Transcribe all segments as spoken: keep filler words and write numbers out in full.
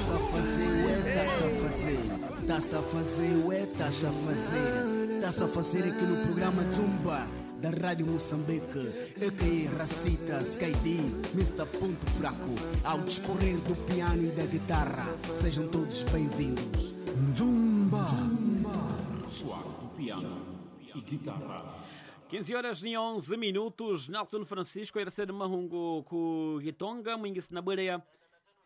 Tá-se a fazer, ué, tá-se a fazer. Tá-se a fazer, ué, tá-se a fazer. Tá-se a fazer aqui no programa Zumba da Rádio Moçambique, A K A Racita, Sky D, mister Ponto Fraco, ao discorrer do piano e da guitarra. Sejam todos bem-vindos. Zumba! Soar do piano e guitarra. quinze horas e onze minutos, Nelson Francisco era mahungu ku Gitonga, mwingisi na bweleya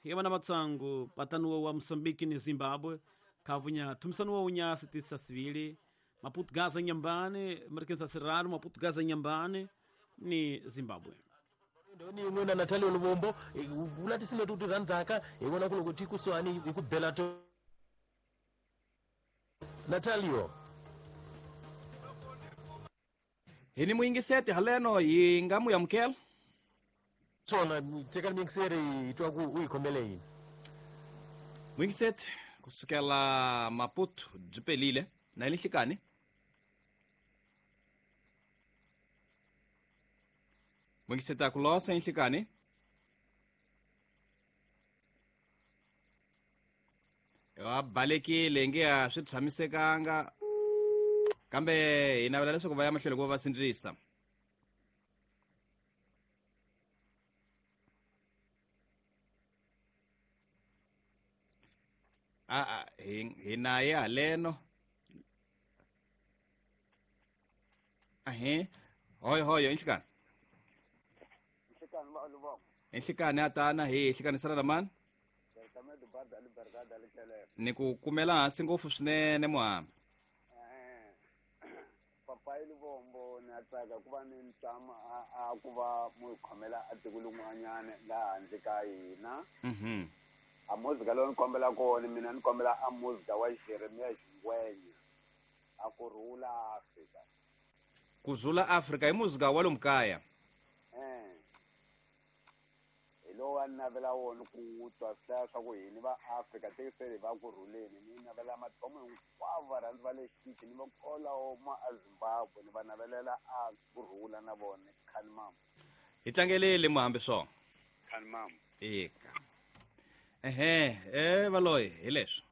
yamana matsangu patanuwa wa Moçambique ni Zimbábue, kavunya tumsanuwa unya sitisa sivili, Maputo Gaza Nyambane, Marquesa Serrano, Maputo Gaza Nyambane ni Zimbábue. Ni ngwena Natalia Lubombo, ulati sime tutu randaka, iwona kulo kutiku swani ikubela to. Natalio. Hini mwingisete haleno yingamu ya mkel. Sona teka mingisere itwa ku uyikhomele yini. Mwingisete kusukela Maputo jipelile na ilihlikani. Mwingisete akulosa inhlikani. Wa balekile nge swi tshamisekanga. Kambe hi navela leswaku va ya mahlweni ku va sindzisa. A a hi hi na ye haleno. Ahe, hoy hoy inhlikani. Inhlikani ba lubongo. Inhlikani atana hi hlikani na mani. Ni ku kumela hansi ngopfu swinene muhambi. Papai Lubombo na tsaka ku va ni ntama a ku va mu khomela a tiko lin'wanyana laha handle ka hina. Mhm. A muzika lowu ni kombela kona mina ni kombela a muzika wa Jeremiah Xingwenya a ku rhula Afrika. Ku rhula Afrika i muzika wa lomu kaya. Eh. Hi lowu a ni navela wona ku twa swi hlaya swa ku hini va Afrika tekisele va ku rhuleni ni navela mathomo hinkwavo varhandzi va le xitichi ni va kolawo ma a Zimbabwe ni va navelela a ku rhula na vona khani mama. Hi tlangelele muhambi swona. Khani mama. Eka. Ehe, eh valoyi hi leswo.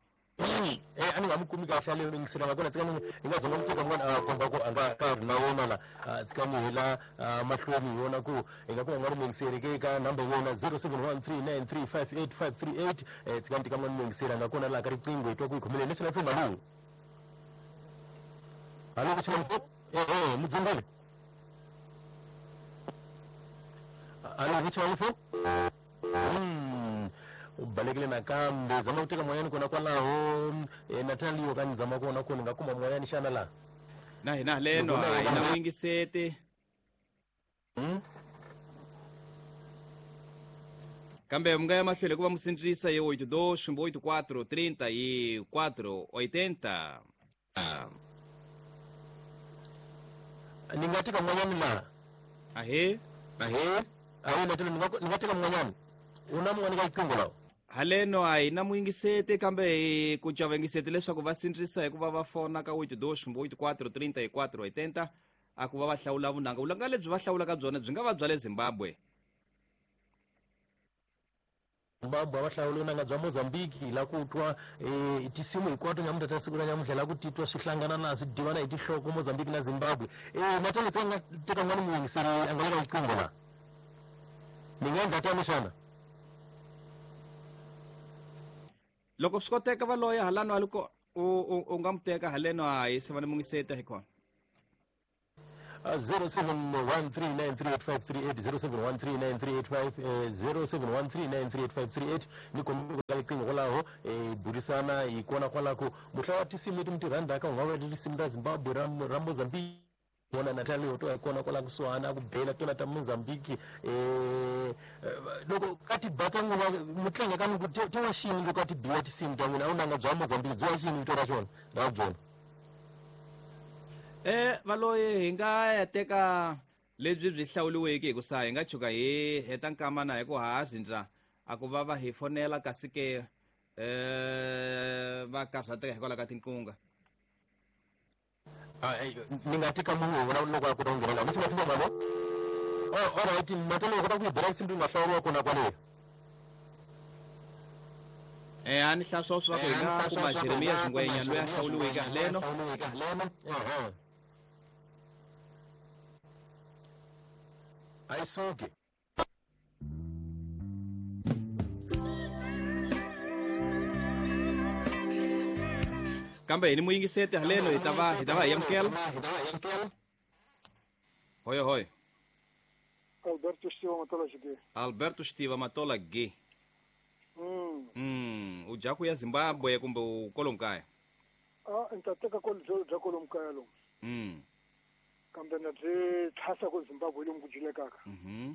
Eh ani nga mukumi kahle leyo ngisela ngakona tsika ni nga zama muteka mwana a komba ku anga ka ri na wona la tsika ni hela mahlweni yona ku inga ku nga ri mingiseri ke ka number yona zero seven one three nine three five eight five three eight eh tsika ni tika mwana mingisera ngakona la ka riqingho itwa ku ikhomele leswi na fuma lu. Alo ku sima eh eh mudzingale. Alo ku sima fu. Ubalekile nakambe zama kuteka mwanyani kona kwalaho e, Natalio kani zama kona kona nga kuma mwanyani xana la na hina leno a hina mwingisete. Hmm? Kambe mi nga ya mahlweni ku va musindzisa hi oito dois oito quatro trinta e quatro oitenta. Ni nga teka mwanyani la ahe ahe ahe Natalio ni nga teka mwanyani una mwani ka riqingho lawo. Haleno a hina mwingisete kambe hi ku cavangisete leswaku va sindzisa hikuva va fona ka oito dois oito quatro trinta e quatro oitenta a ku va va hlawula vunanga. Vunanga lebyi va hlawulaka byona byi nga va bya le Zimbabwe. Zimbabwe va hlawula vunanga bya Mozambique la ku twa eh tisimu hinkwato nyamuntlha ta siku ra nyamuntlha la ku titwa swi hlangana na swi divana hi tinhloko Mozambique na Zimbabwe. Eh Natalia tsanga teka n'wana muyingiseri a nga le ka riqingho la. Ni nga endla tano xana? Loko swi koteka va loya halano aliko u u nga muteka haleno a hi se va ni mungiseta hi kona. zero seven one three nine three eight five three eight zero seven one three nine three eight five zero seven one three nine three eight five three eight ni kombela ka riqingho kwalaho eh burisana hi kona kwalako muhla wa tisimu leti mi ti rhandzaka u nga va tinsimu ta Zimbabwe ra ra Mozambique vona Natalia to hi kona kwala kusuhana ku bela tona ta Mozambique eh loko ka ti ba ta n'wina mutlanga ka ku ti wa xini loko ti biwa tinsimu ta n'wina a wu nanga bya Mozambique byi wa xini vito ra xona ra byona. Eh valoyi hi nga ya teka lebyi byi hlawuliweke hi ku sa hi nga chuka hi heta nkama na hi ku ha zindza a ku va va hi fonela kasi ke eh va karhateka hikwalaho ka tinkunga. Ni nga teka munhu wona loko a kota ku nghena laha mi swi nga fika mali. Oh all right Natalia u kota ku yi bela nsimu leyi nga hlawuriwa kona kwaleyo. Eh a ni hlaya swa swa ku hi nga kuma Jeremiah Xingwenya loyi a hlawuriweke haleno. A yi suki. Kambe hi ni muyingiseti haleno hi ta va hi ta va hi amukela. Hoyo hoyo. Alberto Stiva Matola G. Alberto Stiva Matola G. Mm. Mm, u dya ku ya Zimbabwe kumbe u kwalomu kaya? Ah, ni ta teka ko byo bya kwalomu kaya lomu. Mm. Kambe na byi tlhasa ku Zimbabwe lomu ku dyilekaka. Mhm.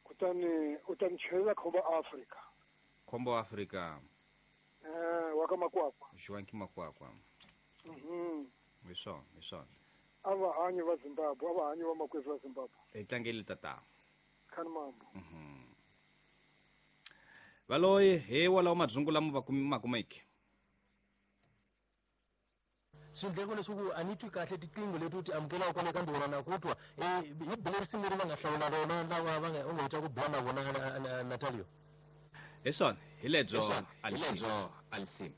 Kutani u ta ni chelela khombo Afrika. Khombo Afrika. Eh, wa ka Makwakwa. Joaquim Makwakwa. Mhm. Hi swona, hi swona. A va hanyi va Zimbabwe, a va hanyi va makwerhu va Zimbabwe. Hi tlangeli tata. Khani mambo. Mhm. Valoyi hi walawo madzungu lama va ma kumeke. Swindleko leswaku a ni twi kahle tiqingho leti u ti amukelaka kona kambe wona na ku twa hi bile risimu leri va nga hlawula rona lava va nga u nga heta ku bula na vona Natalio. Hi swona, hi lebyo Alisim.